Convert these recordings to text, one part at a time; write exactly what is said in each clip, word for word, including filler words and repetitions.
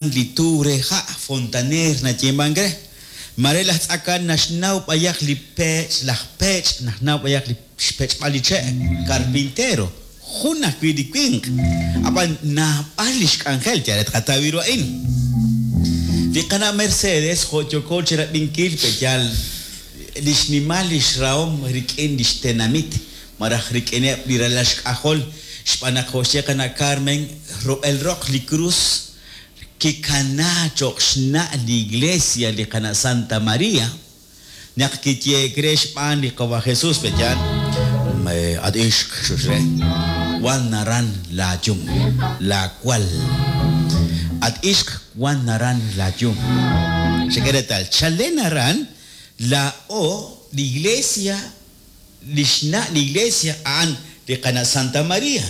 Li tu re ha' fontaneer nayeemank re. Mare laj tz'akan naxnaw b'ayaq li peech', laj peech' naxnaw b'ayaq li xpech'b'al li che', carpintero, jun ajwi' li winq. Ab'an naab'al li xk'anjel, yal re tqataw ru a'in. Li qana' Mercedes jo' yooko chi rab'inkil pe'yaal li xnimal li xrahom rik'in li xtenamit malaj rik'ineb' li ralal xk'ajol, xb'aan naq jo' xye qana' Carmen, rub'el roq li krus kikana cho'q xna' li iglesia li qana' Santa María, naq kiyeek re xb'aan li qawa Jesús pe'yaal, at ixq xuxre, wan naran laayum, laawal. At ixq wan naran laayum. Xek'e reetal, chalen aran laa'o li iglesia, li xna' li iglesia a'an li qana' Santa María.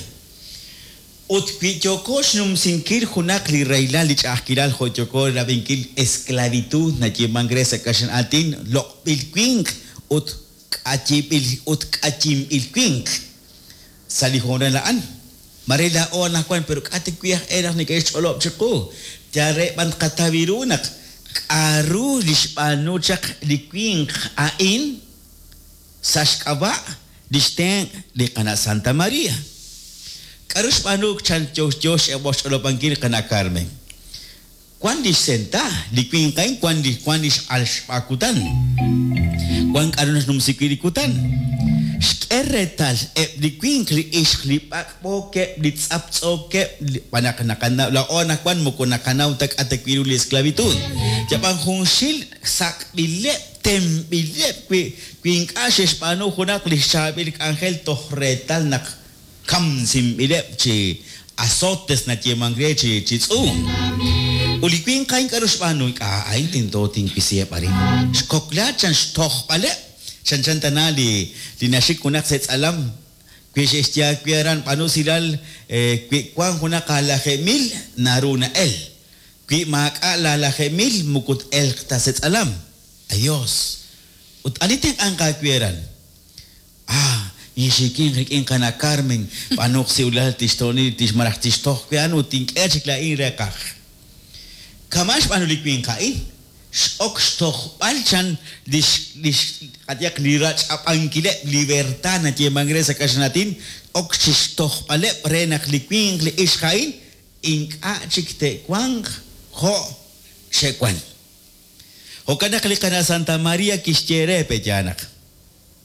Ut wi yooko xnumsinkil junaq li rahilal li ch'a'ajkilal jo' yooko rab'inkil esclavitud nayeemank re sa' kaxlan aatin loq'b'il winq ut k'ayib'il ut k'ayinb'il winq sa' li hoonal a'an. Mare laa'o anaqwan pero k'a' ta wi' aj e naq neke'xch'olob' chiqu. Yal re b'an tqataw ru naq k'aru li xb'aanu chaq li winq a'in sa' xk'ab'a' li xtenq' li qana' Santa María. K'aru xb'aanu chan yo yo xch'olob'ankil qana' Carmen. Wan li xsenta, li winq a'in wan li wan li x'alxb'a kutan. Wan k'aru naxnumsi wi' li kutan. Xk'e reetal eb' li winq li ixq li b'ak'b'ookeb', li tz'aptz'ookeb', b'an naq naqanaw laa'o anaqwan moko naqanaw ta k'a' ta wi' ru li esclavitud. Yab'an junxil sak'b'ileb', temb'ileb' wi wi ink'a' xe'xb'aanu junaq li xchaab'il k'anjel toj reetal naq kamsinb'ileb' chi azotes nayeemank re chi chi tz'uum. Ut li winq a'in k'aru xb'aanu, ink'a' a'in tento tinwisiheb' arin. Xkokla chan xtojb'aleb', chanchan tana li li naxik junaq sa' tz'alam, wi xe'xye wi aran b'aanu usilal wi wan junaq alajeeb' mil naru na'el. Wi maak'a' laalajeeb' mil moko t-elq ta sa' tz'alam. Adiós. Ut ani tenq'anq aawe aran? Ah, inxikin rik'in qana' Carmen, b'anuq siwlal tixto'ni tixmalaj tixtoj wi a'an ut tink'e chik laa'in reeqaj. Kama' xb'aanu li winq a'in, x'ok xtojb'al chan lix lix qayehaq li rach'ab'ankileb' libertad nayeemank re sa' kaxlan aatin, ok chixtojb'aleb' re naq li winq li ixq a'in ink'a' chik te'wanq jo' xe'wan. Jo'kan naq li qana' Santa María kixye re pe'yaal naq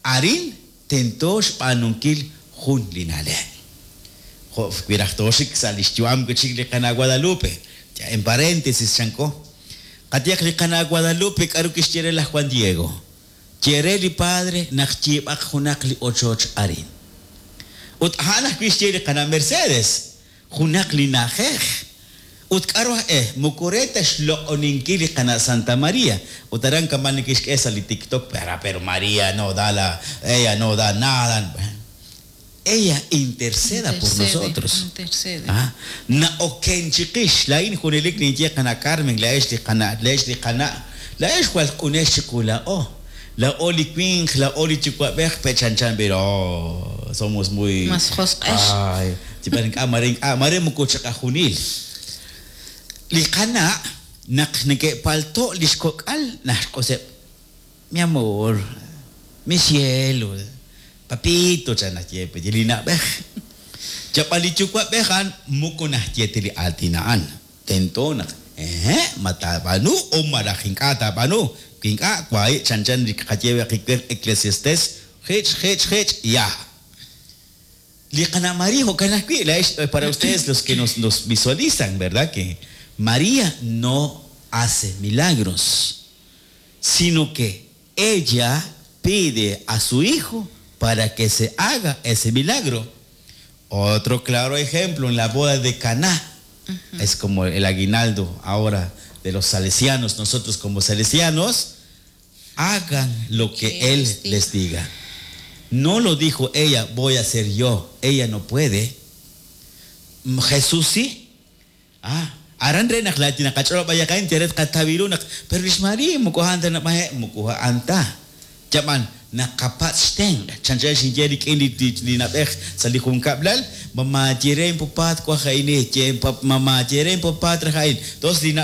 arin tento xb'aanunkil jun li na'leb'. Jo' wi raj tooxik sa' li xyu'am wi' chik li qana' Guadalupe, ya en paréntesis chanko. Qayehaq li qana' Guadalupe k'aru kixye re laj Juan Diego. Ye re li padre naq yiib'aq junaq li ochoch arin. Ut a'an ajwi' xye li qana' Mercedes, junaq li na'ajej. Ut k'aru aj e, moko re ta xloq'oninkil li qana' Santa María. Ut aran kama' nekexk'e sa' li TikTok, pero, pero María no da la, ella no da nada. Ella interceda por Intercede, nosotros. Intercede. Ah, na'oken chiqix, laa'in junelik ninye qana' Carmen, laa'ex li qana', laa'ex li qana', laa'ex jwal q'unex chiqu laa'o. Laa'o li winq, laa'o li yuwa'b'ej, pechanchan pero oh, somos muy... Mas josq'ex. Ay, chi ink'a' mare ink'a' mare moko chiqajunil. Li qana' naq neke'palto' li xkok'al naxq'useb', mi amor, mi cielo, papito chan naxye pe li na'b'ej. Yab'an li yuwa'b'ej a'an moko naxye ta li aatin a'an. Tento naq eh, ma taab'aanu o malaj ink'a' taab'aanu. Wi ink'a' wahi' chanchan li qaye qiwer Eclesiastes, jich, jich, jich, ya. Li qana' María jo'kan ajwi', laa'ex para ustedes los que nos, nos visualizan, ¿verdad? Que María no hace milagros, sino que ella pide a su hijo para que se haga ese milagro. Otro claro ejemplo en la boda de Caná. Es como el aguinaldo ahora de los salesianos. Nosotros como salesianos, hagan lo que Que él les diga. les diga. No lo dijo ella, voy a hacer yo. Ella no puede. Jesús sí. Ah, aran re naq laati naqach'olob' ayaqayn tiret qatawiru naq pero lix María moko anta nab'aje moko anta. Yab'an Naqapatz' xtenq'. Chanchan xinye rik'in li, li, li na'b'ej sa' li junkab'lal, mamá yere popaat waj a'in, mamá yere popaat raj a'in. Tos li